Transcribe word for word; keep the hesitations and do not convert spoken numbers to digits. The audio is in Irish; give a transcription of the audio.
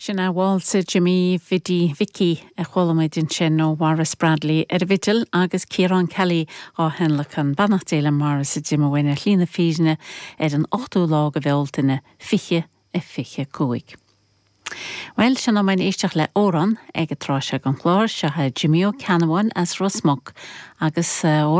Sin é Válsa Jimmy Bhiddy Vicky a chuala muid ansin ó Mhaurice Bradley ar an bhfidil agus Ciarán Kelly á thionlacan beannacht Dé le Maurice a d'imigh uainn ar shlí na fírinne ar an ochtú lá de Bhealtaine fiche a fiche cúig. Well sin am éisteacht le amhrán ag an tráth seo den chlár seo Jimmy Ó Ceannabháin as Ros Muc agus amhrán